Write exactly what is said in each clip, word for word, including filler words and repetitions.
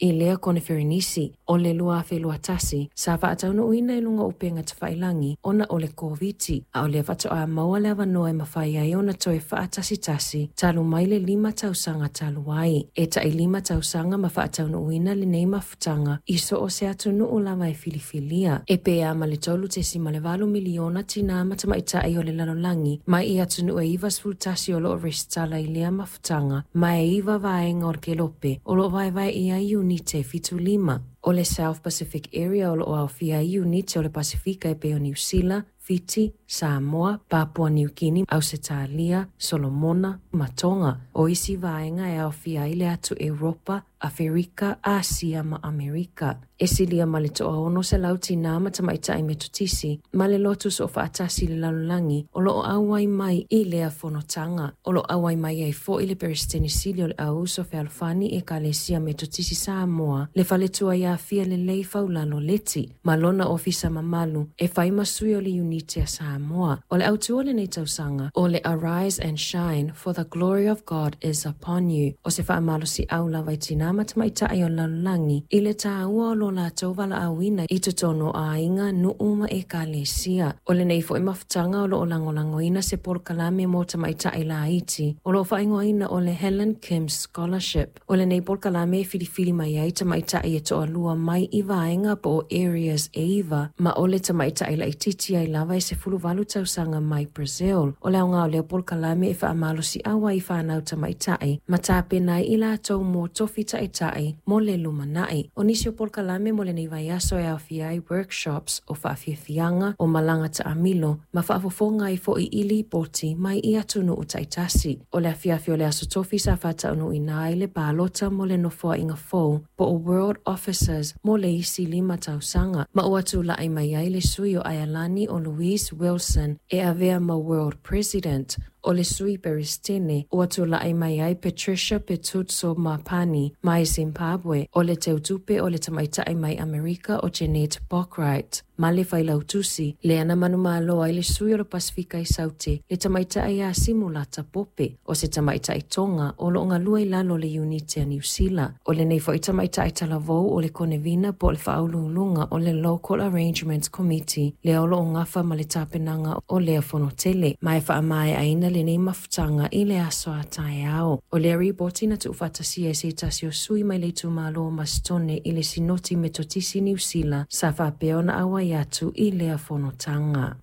I lea koneferenisi o le lua afe lua tasi, sa faataunuuina i luga o upega tafailagi ona o le Koviti, a o lea faatoa maua le avanoa e mafai ai ona toe faatasitasi talu mai le lima tausaga talu ai. E tai lima tausaga ma faataunuuina lenei mafutaga i so o se atunuu lava e filifilia. E pe a ma le tolu tesima le valu miliona tinā ma tamaitai o le lalolagi mai i atunuu e ivasefulu tasi o loo resitala i lea mafutaga, ma e iva vaega o le kelope o loo vaevae i ai iunite e fitu lima. O le South Pacific Area o loo aofia ai iunite o le Pasifika e pei o Niu Sila, Fiti, Samoa, Papua Niu Kini, Ausetalia, Solomona ma Tonga. O isi vaega e aofia ai le atu Europa, Aferika, Asia ma Amerika. E silia ma le toaono selau tinā ma tamaitai Metotisi, ma le lotu soofaatasi i le lalolagi o loo auai mai i lea fonotaga. O loo auai mai ai foi le Peresetene Sili o le Auuso Fealofani Ekalesia Metotisi Samoa, le faletua ia Fia Lelei Faulalo Leti, ma lona ofisa mamalu e fai ma sui o le iunite a Samoa. O le autu o lenei tausaga, o le Arise and Shine, for the glory of God is upon you. O se faamalosiau lava i tinā ma tamaitai o le lalolagi i le tāua o lo latou valaauina i totonu o aiga, nuu ma ekalesia. O lenei foi mafutaga o loo lagolagoina se polokalame mo tamaitai laiti o loo faaigoaina o le Helen Kim Scholarship. O lenei polokalame e filifili mai ai tamaitai e toalua mai i vaega po o areas e iva, ma o le tamaitai laititi ai lava e sefulu valu tausaga mai Brazil. O le aoga o lea polokalame e faamalosiau ai i fanau tamaitai ma tapena ai i latou mo tofi taitai mo le lumanai. O nisi o polokalame mo lenei vaiaso e aofia ai workshops o faafiafiaga, o malaga taamilo ma faafofoga ai foi i lipoti mai i atunuu taitasi. O le afiafi o le aso Tofi sa faataunuuina ai le palota mo le nofoaiga fou po o World Officers mo le isi lima tausaga, ma ua tulai mai ai le sui o Aialani o Louise Wilson e avea ma World President. O le sui Peresetene ua tulai mai ai Patricia Petutso Mapani mai Zimbabwe. O le teutupe o le tamaitai mai Amerika o Jeanette Bockwright, ma le failautusi lea na manumalo ai le sui o le Pasifika i Saute, le tamaitai ia Simulata Pope, o se tamaitai Tonga o loo galue i lalo o le iunite a Niu Sila. O lenei foi tamaitai talavou o le konevina po o le faauluuluga o le Local Arrangements Committee lea o loo gafa ma le tapenaga o lea fonotele, ma e faamaeaina lenei mafutaga i le aso a taeao. O lea ripoti na tuufaatasia e se tasi o sui mai le itumalo o Masitone i le Sinoti Metotisi Niu Sila sa faapea ona auai atu i lea fonotaga.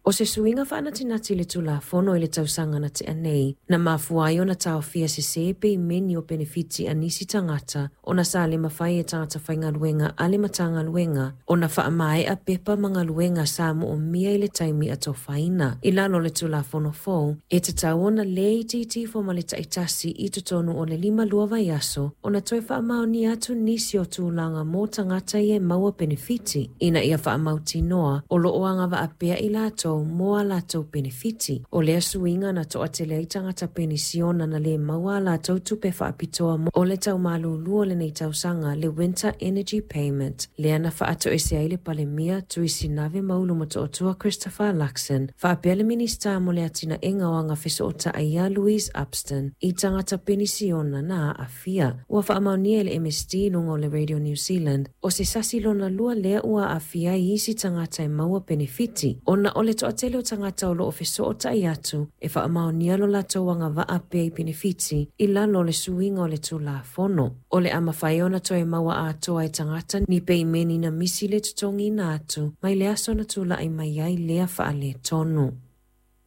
O se suiga faanatinati i le Tulafono i le tausaga na tea nei, na mafua ai ona taofia sesē peimeni o penefiti a nisi tagata ona sa le mafai e tagata faigaluega a le Matagaluega ona faamaea pepa ma galuega sa moomia i le taimi atofaina. I lalo o le Tulafono fou, e tatau ona lē itiiti ifo ma le taitasi i totonu o le lima lua vaiaso ona toe faamaonia atu nisi o tulaga mo tagata ia e maua penefiti, ina ia faamautinoa o loo agavaa pea i latou mo a latou penefiti. O lea suiga na toatele ai tagata penisiona na lē maua a latou tupe faapitoa mo o le taumalūlū o lenei tausaga, le Winter Energy Payment, lea na faatoese ai le Palemia Tuisinave Maulu Motootua Christopher Luxon faapea le Minista mo le Atinaega o Agafesootai ia Louise Upston i tagata penisiona na aafia. Ua faamaonia e le M S D i luga o le Radio New Zealand o se sasi lona lua lea ua aafia ai isi tagata e maua penefiti ona o le toatele o tagata o loo fesootai atu e faamaonia lo latou agavaa pea i penefiti i lalo o le suiga o le Tulafono. O le a mafai ona toe maua atoa e tagata ni peimeni na misi le totogiina atu mai le aso na tulai mai ai lea faaletonu.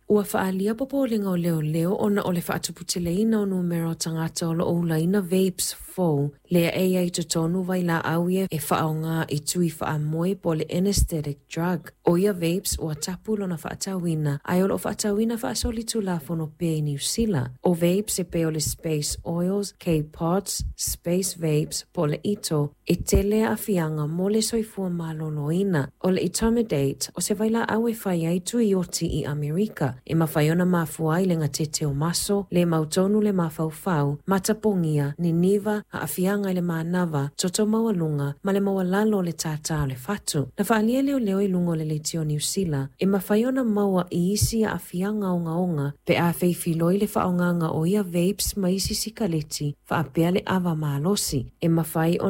Ua faaalia popolega o leoleo ona o le faatuputeleina o numera o tagata o loo ulaina vapes fou lea e iai totonu vailaau ia e faaaoga i tui faamoe po o le anesthetic drug. O ia vapes ua tapu lona faatauina, ae o loo faatauina faasolitulafono pea i Niu Sila. O vapes e pei o le Space Oils, K-Pods, Space Vapes po o le Ito e tele aafiaga mo le soifua maloloina. O le etomidate o se vailaau e fai ai tui oti i Amerika e mafai ona mafua ai le gatete o maso, le mautonu le mafaufau, matapogia, niniva, aafiaga i le manava, toto maualuga ma le maualalo o le tātā o le fatu. Na faaalia leoleo i luga o le leitio Niu Sila e mafai ona maua i isi aafiaga ogaoga pe a feifiloi le faaaogaga o ia vapes ma isi sikaleti faapea le ava malosi e mafai ona